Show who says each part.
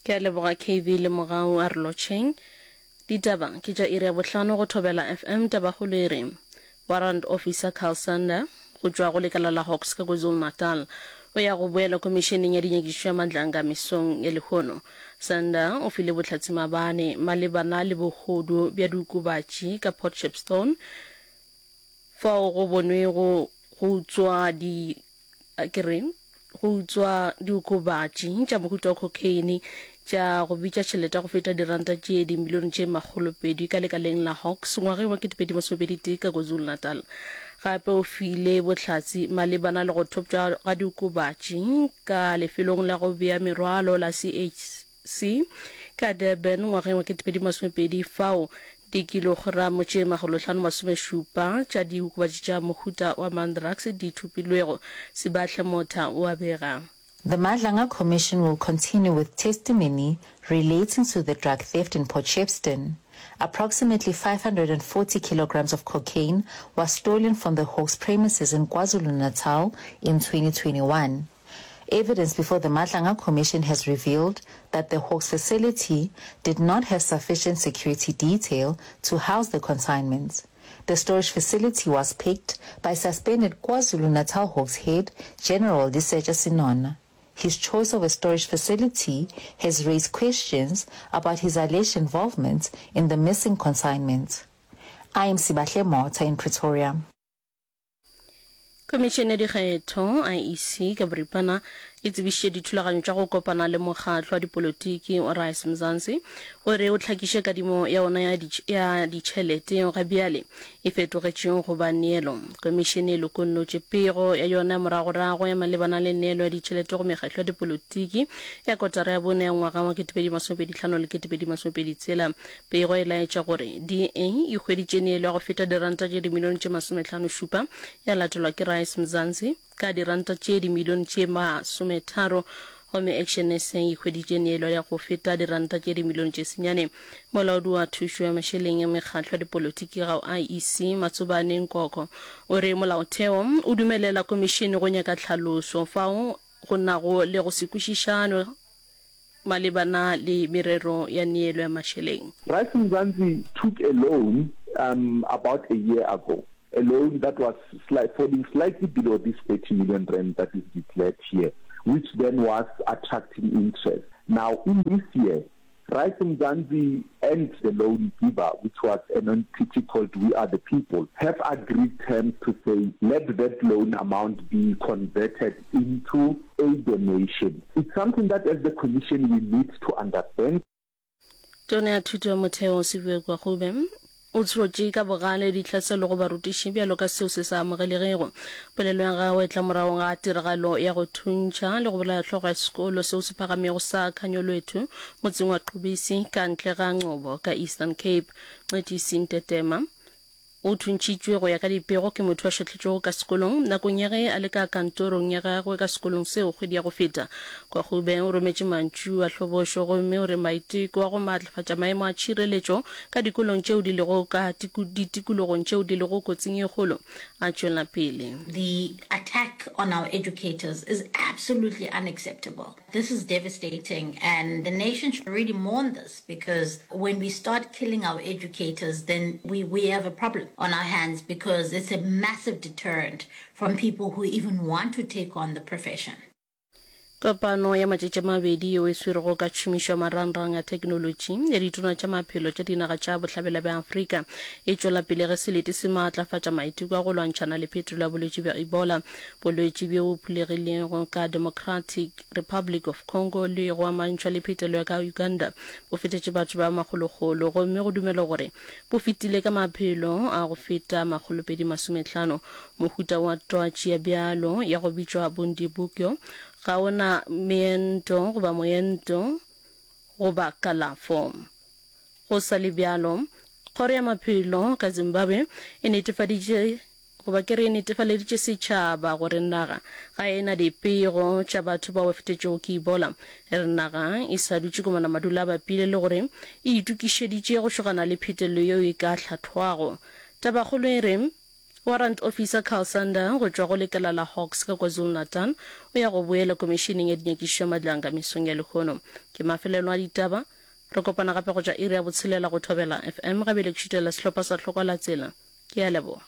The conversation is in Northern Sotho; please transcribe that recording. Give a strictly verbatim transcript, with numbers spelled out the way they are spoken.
Speaker 1: Ke a leboga K V le Mogau a re lotšheng. Ditaba ke tša iri ya bohlano go Thobela F M Tabakgolo e re Warrant Officer Carl Sander go tšwa go lekala la Hawks ka KwaZulu-Natal o ya go boela Khomišeneng ya Dinyakišišo ya Madlanga mesong ya lehono. Sander o file bohlatse maabane malebana le bohodu bja diokobatši ka Port Shepstone fao go bonwego go utswa di a ke re go utswa diokobatši tša mohuta wa cocaine tša go bitša tšhelete ya go feta diranta tše dimilione tše makgolopedi ka lekaleng la Hawks ngwageng wa ketepedi masomepedi tee ka KwaZulu-Natal. Gape o file bohlatse malebana le go thopša ga diokobatši ka lefelong la go bea merwalo la C H C ka Durban ngwageng wa ketepedi masomepedi fao dikilogramo tše makgolohlano masomešupa tša diokobatši tša mohuta wa mandrax di thopilwego, Sibahle Motha o a bega.
Speaker 2: The Madlanga Commission will continue with testimony relating to the drug theft in Port Shepstone. Approximately five hundred and forty kilograms of cocaine was stolen from the Hawks premises in KwaZulu-Natal in twenty twenty-one. Evidence before the Madlanga Commission has revealed that the Hawks facility did not have sufficient security detail to house the consignments. The storage facility was picked by suspended KwaZulu-Natal Hawks head General Lesetja Senona. His choice of a storage facility has raised questions about his alleged involvement in the missing consignments. I am Sibahle Motha in Pretoria.
Speaker 1: Khomišene ya Dikgetho, I E C, ka boripana e tsebišitše dithulaganyo tša go kopana le mokgatlo wa dipolotiki wa Rise Mzansi gore o hlakiše kadimo ya ona ya ya ditšhelete yeo ga bjale e fetogetšego go ba neelo. Khomišene e lokollotše pego ya yona ya moragorago ya malebana le neelo ya ditšhelete go mekgatlo ya dipolotiki ya kotara ya bone ya ngwaga wa ketepedi masomepedi hlano le ketepedi masomepedi tshela. Pego e laetša gore D A e hweditše neelo ya go feta diranta tše dimilione tše masomehlano šupa, ya latelwa ke Rise Mzansi ka diranta tše dimilione tše masometharo, gomme Action S A e hweditše neelo ya go feta diranta tše dimilione tše senyane. Molaodi wa thušo ya mašeleng ya mekgatlo ya dipolotiki ga I E C, Matsobane Nkoko, o re molaotheo o dumelela komišene go nyaka tlhaloso fao go nago le go se kwešišanwe malebana le merero ya neelo ya mašeleng.
Speaker 3: Rise Mzansi took a loan um about a year ago, a loan that was sli-, falling slightly below this thirty million rand that is declared here, which then was attracting interest. Now, in this year, Rise Mzansi and the loan giver, which was an entity called We Are The People, have agreed terms to say let that loan amount be converted into a donation. It's something that as the Commission we need to understand.
Speaker 1: Tona ya Thuto ya Motheo Siviwe Gwarube o tshotše ka bogale ditlhaselo go barutiši bjalo ka seo se sa amogelegego. Polelo ya gagwe e tla morago ga tiragalo ya go thuntšha le go bolaya hlogo ya sekolo seo se phagamego sa Khanyolwethu motseng wa Qubisi ka ntle ga Ngcobo ka Eastern Cape. Ncedisi Ntetema o thuntšhitšwe go ya ka dipego ke motho a šwahletšwego ka sekolong nakong ya ge a le ka kantorong ya gagwe ka sekolong seo kgwedi ya go feta. Kwagube o rometše mantšu a hlobošo gomme o re maiteko a go maatlafatša maemo a tšhireletšo ka dikolong tšeo di lego ka ditikologong tšeo di lego kotsing ye kgolo a tšwela pele.
Speaker 4: The attack on our educators is absolutely unacceptable. This is devastating and the nation should really mourn this because when we start killing our educators, then we, we have a problem on our hands because it's a massive deterrent from people who even want to take on the profession.
Speaker 1: Kopano ya matšatši a mabedi yeo e swerego ka tšhomišo ya marangrang a theknolotši ya ditona tša maphelo tša dinaga tša Bohlabela bja Afrika e tšwela pele ge selete se maatlafatša maiteko a go lwantšhana le phetolo ya bolwetši bja Ebola, bolwetši bjo bo phulegilego ka Democratic Republic of Congo le go amantšhwa le phetelo ya ka Uganda bo fetetše batho ba makgolokgolo gomme go dumelwa gore bo fetile ka maphelo a go feta makgolopedi masomehlano. Mohuta wa twatši ya bjalo ya go bitšwa Bundibugyo ga o na meento goba moento goba kalafo. Go sa le bjalo, Kgoro ya Maphelo ka Zimbabwe e netefaditše goba ke re e netefaleditše setšhaba gore naga ga e na dipego tša batho bao ba fetetšego ke Ebola. E re naga e sa dutše komana madula a bapile le gore e itokišeditše go šogana le phetelo yeo e ka hlathwago. Tabakgolo e re Warrant Officer Carl Sander go tšwa go lekala la Hawks ka KwaZulu-Natal o ya go boela Komišeneng ya Dinyakišišo ya Madlanga mesong ya lehono. Ke mafelelo a ditaba. Re kopana gape go tšwa iri ya botshelela go Thobela FM. Ga bjale ke šutela sehlopha sa Hlokwa la Tsela. Ke a leboga.